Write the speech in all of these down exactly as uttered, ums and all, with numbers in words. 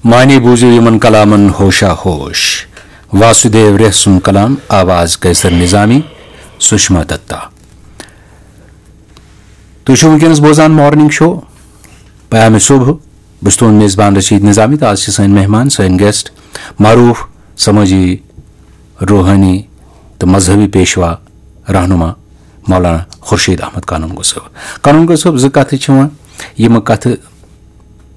معنی بوٗزِو یِمن کلامن ہوشا ہوش۔ واسُدیو ریہ سُنٛد کلام، آواز قیصر نظامی، سُشما دتا۔ تُہۍ چھِو وٕنکیٚنَس بوزان مارننگ شو پیام صبح۔ بہٕ چھُس تُہُنٛد میزبان رشید نظامی تہٕ آز چھِ سٲنۍ مہمان، سٲنۍ گیسٹ، معروٗف سمٲجی، روحٲنی تہٕ مذہبی پیشوا رہنما مولانا خورشید احمد قانون گو صٲب۔ قانون گو صٲب، زٕ کتھٕ چھِ یِوان، یِم کتھٕ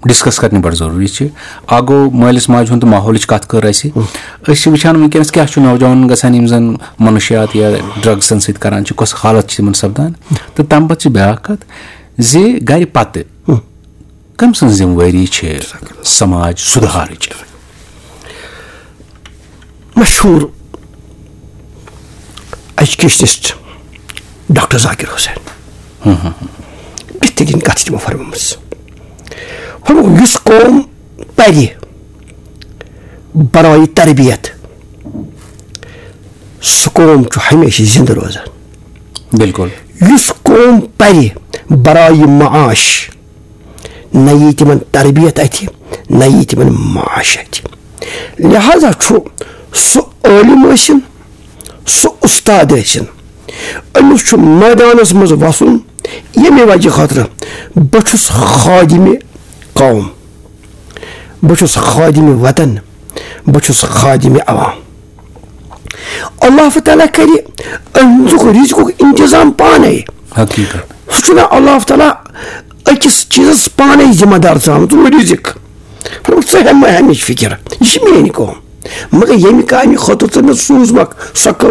ڈسکس کرنہِ بڑٕ ضروٗری چھِ۔ اکھ گوٚو مٲلِس ماجہِ ہُنٛد تہٕ ماحولٕچ کتھ کٔر اَسہِ۔ أسۍ چھِ وٕچھان وٕنکیٚنس کیٛاہ چھُ نوجوانن گژھان، یِم زن منشیات یا ڈرگزن سۭتۍ کران چھِ، کۄس حالت چھِ تِمن سپدان۔ تہٕ تمہِ پتہٕ چھِ بیٛاکھ کتھ زِ گرِ پتہٕ کٔمۍ سٕنٛز ذمہٕ وٲری چھِ سماج سُدھارٕچ؟ مشہوٗر ایجوکیشنسٹ ڈاکٹر ذاکر حسین، بہترین کتھ چھِ تِمو فرمٲمٕژ۔ فرمووُکھ، یُس قوم پرِ برای تربیت، سُہ قوم چھُ ہمیشہِ زندٕ روزان۔ بِلکُل۔ یُس قوم پرِ برای معاش، نہ یی تِمن تربیت اتھِ، نہ یی تِمن معاش اتھِ۔ لہذا چھُ سُہ عٲلِم ٲسِن، سُہ اُستاد ٲسِن، أمِس چھُ مٲدانس منٛز وسُن۔ ییٚمہِ وجہ خٲطرٕ بہٕ چھُس خادمِ قوم، بہٕ چھُس خادمِ وطن، بہٕ چھُس خادمِ عوام۔ اللہ تعالیٰ کرِ أہنٛدُک رزقُک انتظام پانے۔ حقیقت۔ سُہ چھُنہٕ اللہ تعالیٰ أکِس چیٖزس پانے ذمہ دار ترٛاوان، ژٕ رزق۔ فرمووُکھ، ژٕ ہےٚ مہ ہیٚمِچ فکر، یہِ چھِ میٲنۍ کٲم۔ مگر ییٚمہِ کامہِ خٲطرٕ ژٕ مےٚ سوٗزمکھ، سۄ کٲم